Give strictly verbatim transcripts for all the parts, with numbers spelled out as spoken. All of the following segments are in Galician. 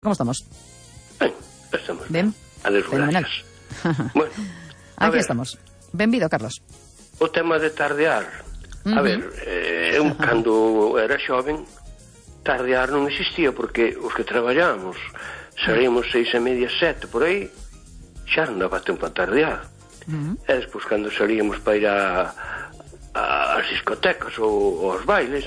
Como estamos? Ben, estamos ben. Adeus, gracias. Bueno, aquí ver, estamos. Benvido, Carlos. O tema de tardear. Uh-huh. A ver, eh, eu cando era xoven, tardear non existía, porque os que traballamos salíamos seis e media, sete, por aí, xa non daba tempo a tardear. Uh-huh. E despois, cando salíamos para ir a, a, as discotecas ou aos bailes,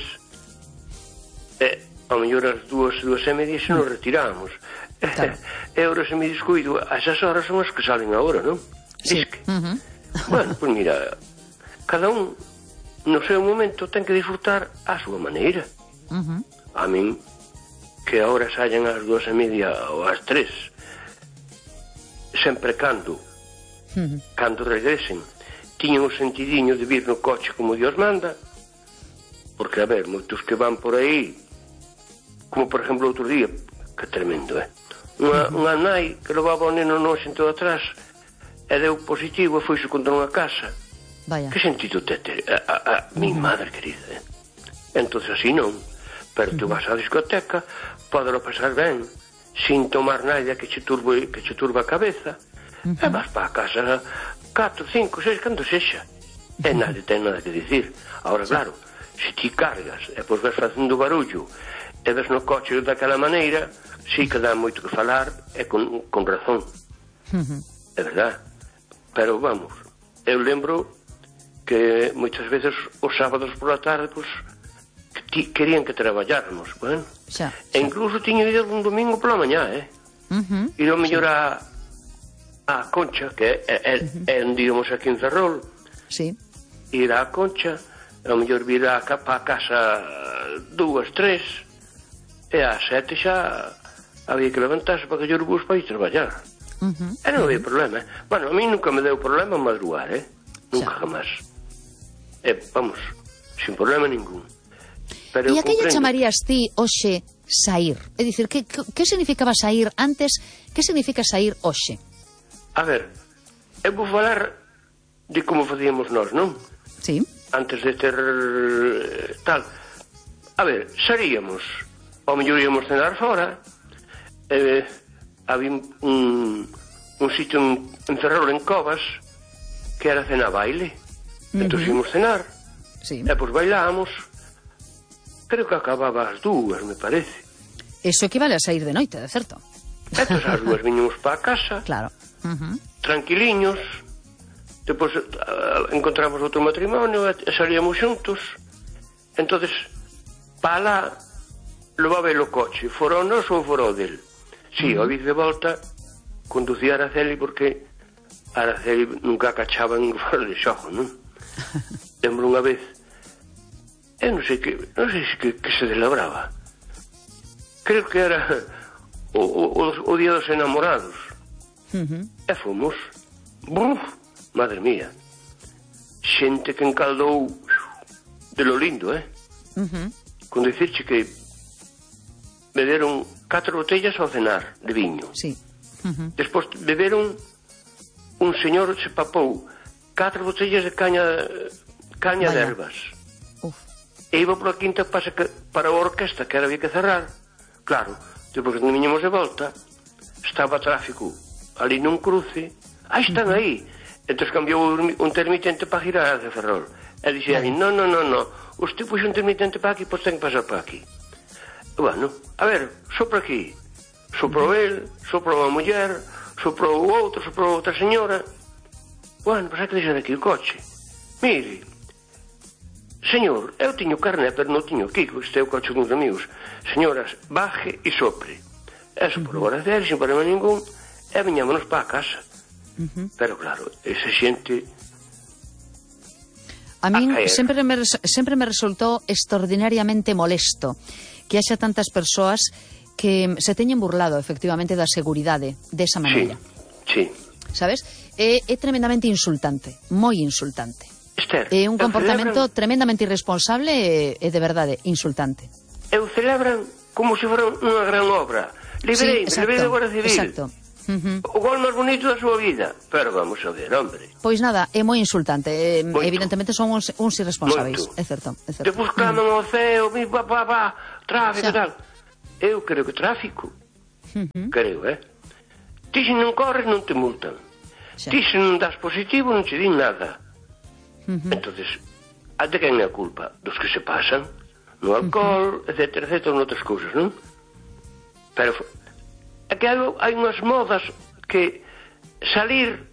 e ao mellor as dúas, dúas e media se nos retirábamos. Claro. E agora se me descuido, a esas horas son as que salen agora, non? Sí. Disque. Uh-huh. Bueno, pois pues mira, cada un no seu momento ten que disfrutar a súa maneira. Uh-huh. A min, que agora sallan ás dúas e media ou ás tres, sempre cando uh-huh. cando regresen tiñan o sentidiño de vir no coche como Dios manda, porque a ver, moitos que van por aí, como por exemplo outro día, que tremendo, eh? Unha, uh-huh. unha nai que levaba o neno no xento atrás e deu positivo e foise contra unha casa. Vaya. Que sentido te ter? A, a, a mi uh-huh. madre querida, eh? Entón así non, pero tu uh-huh. vas á discoteca, podelo pasar ben, sin tomar nada que che turbe, que che turba a cabeza, uh-huh. e vas para a casa catro, cinco, seis, cando sexa, uh-huh. e nada ten nada que dicir. Agora, sí. Claro, se ti cargas e pois vas facendo barullo e ves no coche daquela maneira, sí que dá moito que falar, e con, con razón. Uh-huh. É verdad. Pero vamos, eu lembro que moitas veces os sábados por la tarde, pues, que ti, querían que traballáramos, bueno. Xa, e incluso tiña ido un domingo pola mañá, eh? Uh-huh. Ir ao mellor a, a Concha, que é, é, uh-huh. é onde íamos aquí en Ferrol. Sí. Ir á Concha, ao mellor vir a, a casa dúas, tres, e ás sete xa había que levantarse para que o bus para ir traballar. Uh-huh. E non había problema, eh? Bueno, a mí nunca me deu problema madrugar, eh? Nunca, xa. Jamás. E, vamos, sin problema ningún. Pero e a que lle chamarías ti hoxe saír? É dicir, que, que, que significaba saír antes? Que significa saír hoxe? A ver, eu vou falar de como facíamos nós, non? Sí. Antes de ter tal. A ver, saíamos, ao mellor íamos cenar fora, eh, había un, un sitio en, en Ferrol, en Covas, que era cena baile. Uh-huh. Entón íamos cenar, sí. E pois bailábamos, creo que acababa as dúas, me parece. Eso equivale a sair de noite, de certo. Entón as dúas viñamos para a casa, claro. Uh-huh. Tranquiliños, depois uh, encontramos outro matrimonio e salíamos xuntos. Entonces, para lá, levaba el o coche, fora o noso ou fora o del. Si, sí, uh-huh. Ao vir de volta, conducía a Araceli porque a Araceli nunca cachaba en fora de xogo, non? Lembro unha vez, eu non sei que, non sei se que, que se celebraba. Creo que era o, o, o día dos enamorados. Uh-huh. E fomos. Buf, madre mía. Xente que encaldou de lo lindo, eh? Uh-huh. Con dicirche que beberon catro botellas ao cenar de viño. Sí. Uh-huh. Despois beberon, un señor se papou catro botellas de caña caña Vaya. de ervas. Uf. E iba pola quinta para, para a orquesta, que era había que cerrar. Claro, depois que viñemos de volta, estaba tráfico ali nun cruce. Ah, están uh-huh. aí. Entón cambiou un intermitente para girar de Ferrol. E dixía, no, no, no, no, usted puxo un intermitente para aquí, pois ten que pasar para aquí. Bueno, a ver, sopra aquí. Soprou el, soprou a muller, soprou o outro, soprou outra señora. Bueno, pois hai que deixar aquí o coche. Mire, señor, eu tiño carné, pero non tiño aquí, que este é o coche dos amigos. Señoras, baje e sopre. E soprou a Araceli, sin problema ningún, e viñámonos para a casa. Uh-huh. Pero claro, esa xente... A min sempre me, sempre me resultou extraordinariamente molesto que haxa tantas persoas que se teñen burlado efectivamente da seguridade desa maneira. Sí, sí. Sabes? É, é tremendamente insultante, moi insultante. Esther, é un comportamento celebran... tremendamente irresponsable e, e de verdade insultante. Eu celebran como se fora unha gran obra. Liberei, sí, liberei da Guardia Civil. Exacto. Uh-huh. O gol máis bonito da súa vida. Pero vamos a ver, hombre. Pois nada, é moi insultante. Eh, evidentemente son uns, uns irresponsáveis. É certo, é certo. Depois claman ao ceo, mi papá, papá, tráfico e tal. Eu creo que tráfico uh-huh. creo, eh? Ti se non corres non te multan. Xa. Ti se non das positivo non te din nada. Uh-huh. Entonces, a de quen é a culpa? Dos que se pasan no alcohol, uh-huh. etcétera, etcétera, noutras cousas, non? Pero é que hai, hai unhas modas que salir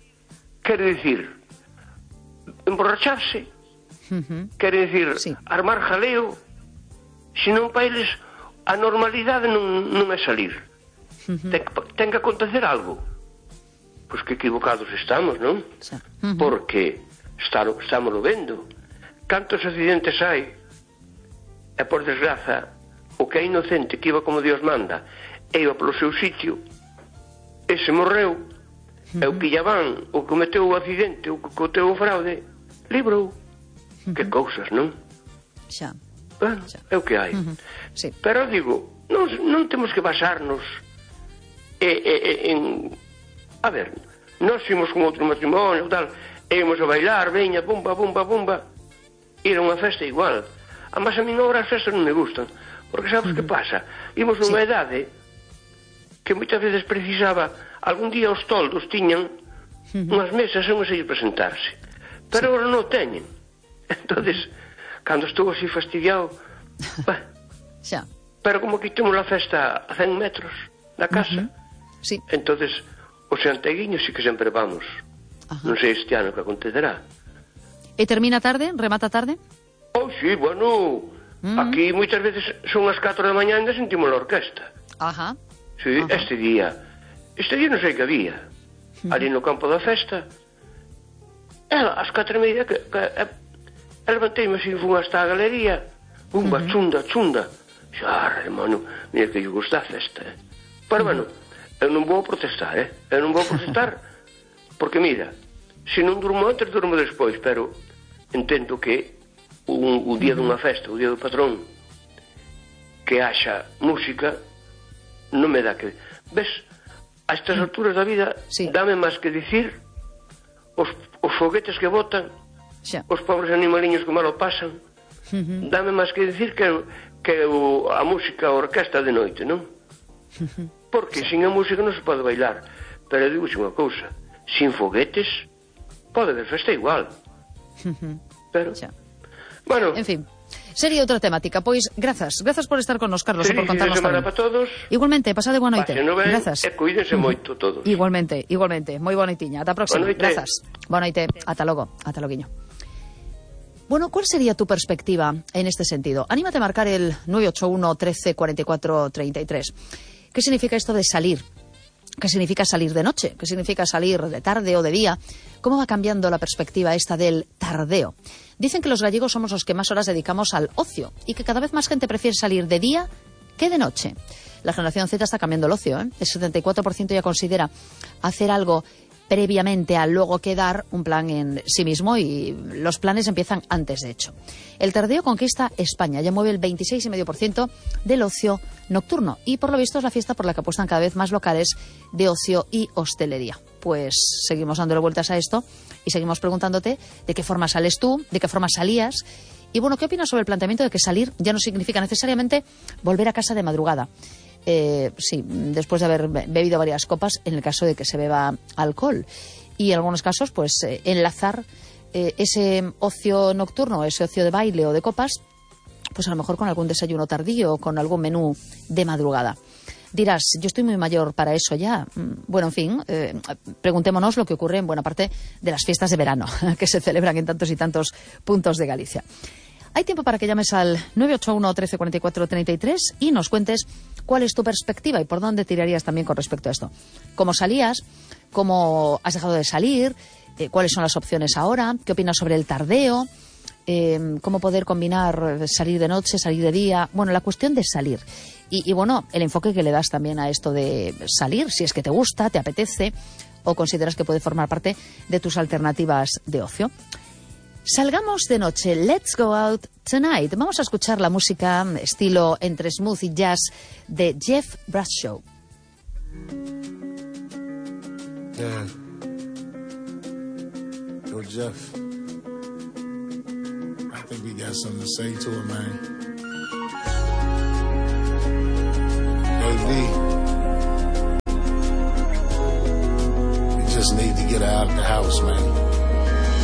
quere dicir emborracharse, uh-huh. quere dicir sí. armar jaleo, senón para eles a normalidade non, non é salir. Uh-huh. Ten, ten que acontecer algo. Pois que equivocados estamos, non? Sí. Uh-huh. Porque está, estamos vendo. Cantos accidentes hai? E por desgraza, o que é inocente, que iba como Dios manda, e iba polo seu sitio, ese morreu, uh-huh. e o que lla van, o que cometeu o accidente, o que cometeu o fraude, librou. Uh-huh. Que cousas, non? Xa. Bueno, xa. É o que hai. Uh-huh. Sí. Pero digo, non, non temos que basarnos e, e, e, en... A ver, nós fomos con outro matrimonio, tal, e íamos a bailar, veña, bumba, bumba, bumba. Ir a unha festa igual. Además, a min agora as festas non me gustan. Porque sabes uh-huh. que pasa? Imos nunha sí. idade que moitas veces precisaba, algún día os toldos tiñan uh-huh. unhas mesas e unhas a ir presentarse. Pero sí. agora non teñen. Entonces, cando estou así fastidiado, bah, xa. Pero como quitemos a festa a cen metros da casa, uh-huh. sí. entonces os santeguiños sí que sempre vamos. Ajá. Non sei este ano que acontecerá. E termina tarde? Remata tarde? Oh, sí, bueno, uh-huh. aquí moitas veces son as catro da mañá e ainda sentimos a orquesta. Ajá. Sí, Ajá. este día, este día non sei que había, uh-huh. ali no campo da festa. Ela, as catro e media, que, que, que levantei-me así, fun hasta a galería, bumba, uh-huh. chunda, chunda. Xa, hermano, mira que eu gosto da festa, eh. Pero, uh-huh. bueno, eu non vou protestar, eh? Eu non vou protestar, porque, mira, se non durmo antes, durmo despois, pero entendo que un, o día uh-huh. dunha festa, o día do patrón, que haxa música, non me dá que... Ves, a estas alturas da vida, sí. dame máis que dicir os, os foguetes que botan, xa. Os pobres animaliños que malo pasan, uh-huh. dame máis que dicir que, que o, a música, a orquesta de noite, non? Uh-huh. Porque sin a música non se pode bailar. Pero digo unha cousa, sin foguetes pode haber festa igual. Uh-huh. Pero, xa. Bueno, en fin, sería outra temática. Pois, grazas, grazas por estar con nos, Carlos, e por contarnos tamén. Para todos. Igualmente, pasade boa noite. No ven, grazas. E cuídense uh-huh. moito todos. Igualmente, igualmente. Moi boa noitiña. Ata a próxima. Grazas. Boa noite. Ata logo. Ata loguiño. Bueno, ¿cuál sería tu perspectiva en este sentido? Anímate a marcar el nueve ocho uno, trece, cuarenta y cuatro, treinta y tres. ¿Qué significa esto de salir? ¿Qué significa salir de noche? ¿Qué significa salir de tarde o de día? ¿Cómo va cambiando la perspectiva esta del tardeo? Dicen que los gallegos somos los que más horas dedicamos al ocio y que cada vez más gente prefiere salir de día que de noche. La generación Z está cambiando el ocio, ¿eh? El setenta y cuatro por ciento ya considera hacer algo previamente a luego quedar un plan en sí mismo, y los planes empiezan antes, de hecho. El tardeo conquista España, ya mueve el veintiséis coma cinco por ciento del ocio nocturno, y por lo visto es la fiesta por la que apuestan cada vez más locales de ocio y hostelería. Pues seguimos dándole vueltas a esto y seguimos preguntándote de qué forma sales tú, de qué forma salías, y bueno, ¿qué opinas sobre el planteamiento de que salir ya no significa necesariamente volver a casa de madrugada? Eh, sí, después de haber bebido varias copas, en el caso de que se beba alcohol, y en algunos casos pues eh, enlazar eh, ese ocio nocturno, ese ocio de baile o de copas, pues a lo mejor con algún desayuno tardío o con algún menú de madrugada. Dirás, yo estoy muy mayor para eso ya. Bueno, en fin, eh, preguntémonos lo que ocurre en buena parte de las fiestas de verano que se celebran en tantos y tantos puntos de Galicia. Hay tiempo para que llames al nueve ocho uno, trece, cuarenta y cuatro, treinta y tres y nos cuentes cuál es tu perspectiva y por dónde tirarías también con respecto a esto. ¿Cómo salías? ¿Cómo has dejado de salir? Eh, ¿Cuáles son las opciones ahora? ¿Qué opinas sobre el tardeo? Eh, ¿Cómo poder combinar salir de noche, salir de día? Bueno, la cuestión de salir. Y, y bueno, el enfoque que le das también a esto de salir, si es que te gusta, te apetece o consideras que puede formar parte de tus alternativas de ocio. Salgamos de noche, let's go out tonight. Vamos a escuchar la música estilo entre smooth y jazz de Jeff Bradshaw. Yeah. Yo, Jeff. I think we got something to say to it, man. Yo, D. just need to get her out the house, man.